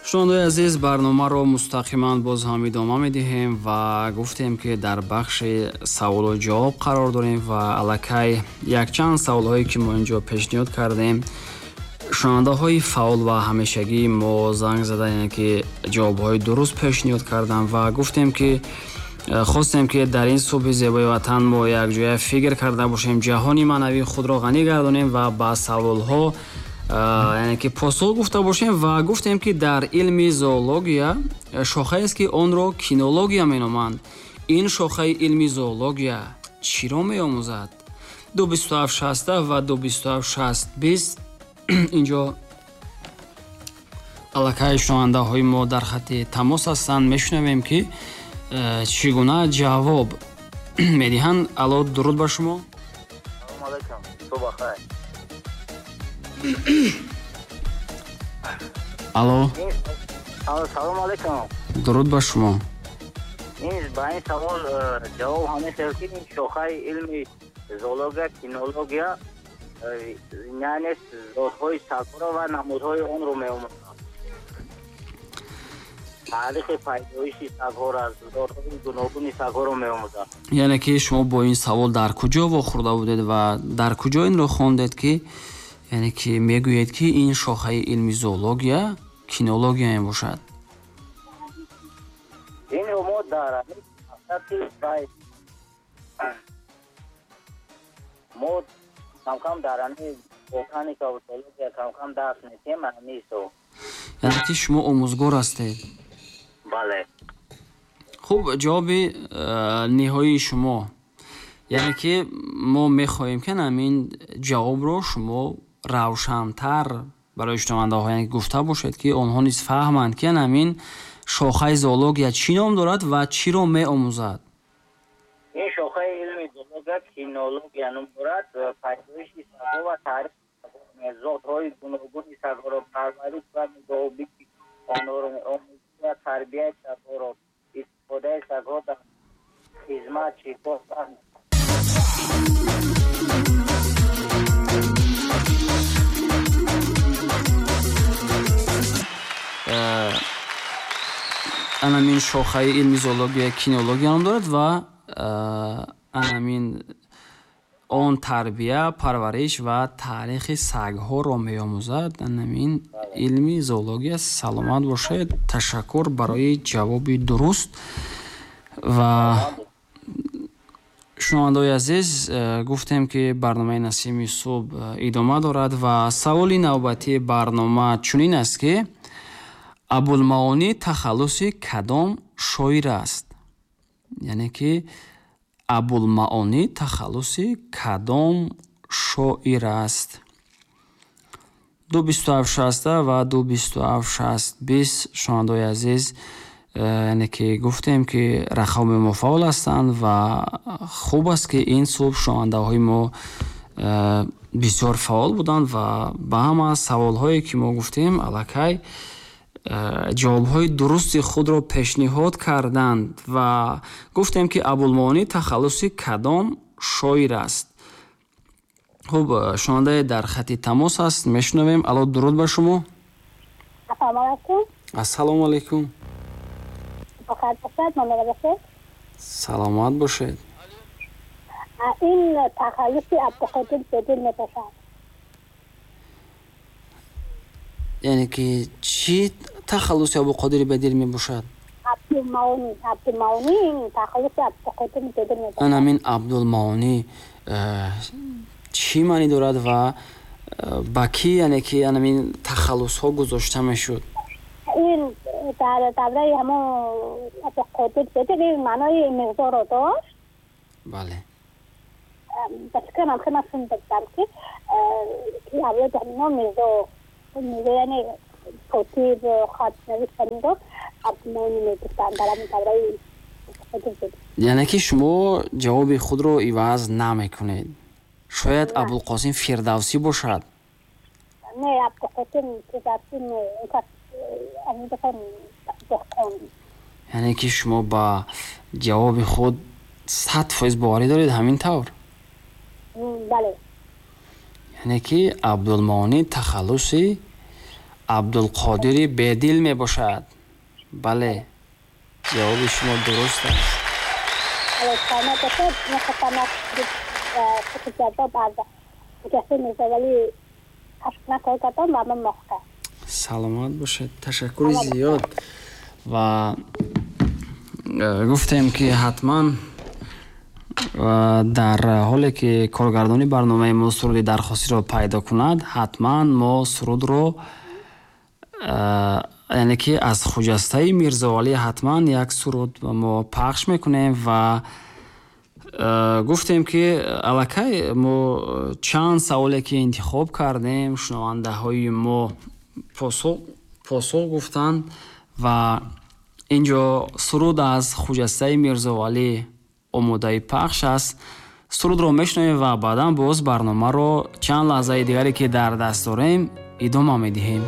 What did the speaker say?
Шунавандаои азиз, барномаро мустақиман боз ҳам идома медиҳем ва гуфтем, ки дар бахши саволу ҷавоб қарор дорем ва аллакай якчанд саволҳое, ки мо инҷо пешниҳод кардем, шунавандаҳои фаъол ва ҳамешагии мо занг зада, яъне ки ҷавобҳои дуруст пешниҳод карданд ва гуфтем, ки хостем, ки дар ин субҳи зебои ватан мо якҷоя фикр карда бошем, ҷаҳони маънавии худро ғанӣ гардонем ва ба саволҳо, яъне ки посух гуфта бошем. Ва гуфтем, ки дар илми зоология шохаест, ки онро кинология меноманд. Ин шохаи илми зоология чиро меомӯзад? 2 27 60 ва 2 27 60 20. Инҷо аллакай шунавандаҳои мо дар хатти тамос ҳастанд. Мешунавем, ки чӣ гуна ҷавоб медиҳанд. Алло, дуруд ба шумо. Салому алайкум, субҳ бахайр. Алло. Салому алайкум. Дуруд ба шумо. Ин ба ин савол ҷавоб ҳамин хел, ки ин шохаи илми зоология кинология, яъне зотҳои сагҳоро ва намудҳои онро меомӯзад, таърихи пайдоиши сагҳоро, зотҳои гуногуни сагҳоро меомӯзад. Яъне ки шумо бо ин савол дар куҷо вохӯрда будед ва дар куҷо инро хондед, ки яъне ки мегӯед, ки ин шохаи илми зоология кинология мебошад? Инро мо дар мактаби мо камкам дар ҳамин ботаника ва зоология камкам дарс медиҳем ҳамин ҳисоб. Яъне ки шумо омӯзгор ҳастед? Бале. Хуб, ҷавоби ниҳоии шумо, яъне ки мо мехоҳем, ки ҳамин ҷавобро шумо равшантар барои шунавандаҳо, яъне гуфта бошед, ки онҳо низ фаҳманд, ки ҳамин шохаи зоология чӣ ном дорад ва чиро меомӯзад. Ин шохаи илми зоология кинология ном дорад. Пайдоиши сагҳо ва таърихи зотҳои гуногуни сагҳоро, парвариш ва нигоҳубини онҳоро, омӯзиш ва тарбияи сагҳоро, истифодаи сагҳо дар хизмат, шикор ва Анамин шохаи илми зоология кинология ном дорад ва анамин он тарбия, парвариш ва таърихи сагҳоро меомӯзад, анамин илми зоология. Саломат бошед, ташаккур барои ҷавоби дуруст. Ва шунавандаои азиз, гуфтем, ки барномаи Насими субҳ идома дорад ва саволи навбатии барнома чунин аст, ки Абулмаонӣ тахаллуси кадом шоир аст? Яъне ки Абулмаонӣ тахаллуси кадом шоир аст? 2 27 60 ва 2 27 60 20. Шунавандаои азиз, яъне ки гуфтем, ки рақами мо фаъол ҳастанд ва хуб аст, ки ин субҳ шунавандаҳои мо бисёр фаъол буданд ва ба ҳама саволҳое, ки мо гуфтем, аллакай ҷавобҳои дурусти худро пешниҳод карданд. Ва гуфтем, ки Абулмаонӣ тахаллуси кадом шоир аст? Хуб, шунавандае дар хати тамос аст, мешунавем. Алло, дуруд ба шумо. Ассалому алайкум. Ассалому алайкум. Бахайр бошед, мамнун бошед. Саломат бошед. Ин тахаллуси Абдуқодир Бедил мебошад. Яъне ки чӣ тахаллуси Абуқодири Бедил мебошад? Абдулмаонӣ, Абдулмаонӣ тахаллуси Абдуқодир Бедил мебошад. Анамин Абдулмаонӣ чӣ маънӣ дорад ва ба кӣ, яъне ки анамин тахаллусҳо гузошта мешуд? Ин дар давраи ҳамон Абдуқодир Бедил ин маънои миқдорро дошт. Ба фикрам, хеле ман шунида будам, ки авлоди ҳамино мирзо, мирзо, яъне котиб, хатнавис, ҳаминро Абдулмаонӣ мегуфтанд дар ҳамин давраи Абдуқодир Бедил. Яъне ки шумо ҷавоби худро иваз намекунед? Шояд Не. Абулқосим Фирдавсӣ бошад? Не, Абдуқосим Фирдавсӣ не, он кас ҳамин деҳқон. Яъне ки шумо ба ҷавоби худ 100% боварӣ доред, ҳамин тавр? Бале. Яъне ки Абдулмаонӣ тахаллуси Абдулқодири Бедил мебошад. Бале, ҷавоби шумо дуруст аст. Саломат бошед. Мехостам як ҷавоб аз Хуҷастаи Мирзовалӣ пахш кунам, кор кардам ва ман мохта. Саломат бошед, ташаккури зиёд. Ва гуфтем, ки ҳатман дар ҳоле ки коргардони барномаи мо суруди дархостиро пайдо кунад, ҳатман мо сурудро, яъне ки аз Хуҷастаи Мирзовалӣ ҳатман як суруд мо пахш мекунем. Ва гуфтем, ки аллакай мо чанд саволе ки интихоб кардем, шунавандаҳои мо посух гуфтанд ва инҷо суруд аз Хуҷастаи Мирзовалӣ омодаи пахш аст. Сурудро мешунавем ва баъдан боз барномаро чанд лаҳзаи дигаре ки дар даст дорем идома медиҳем.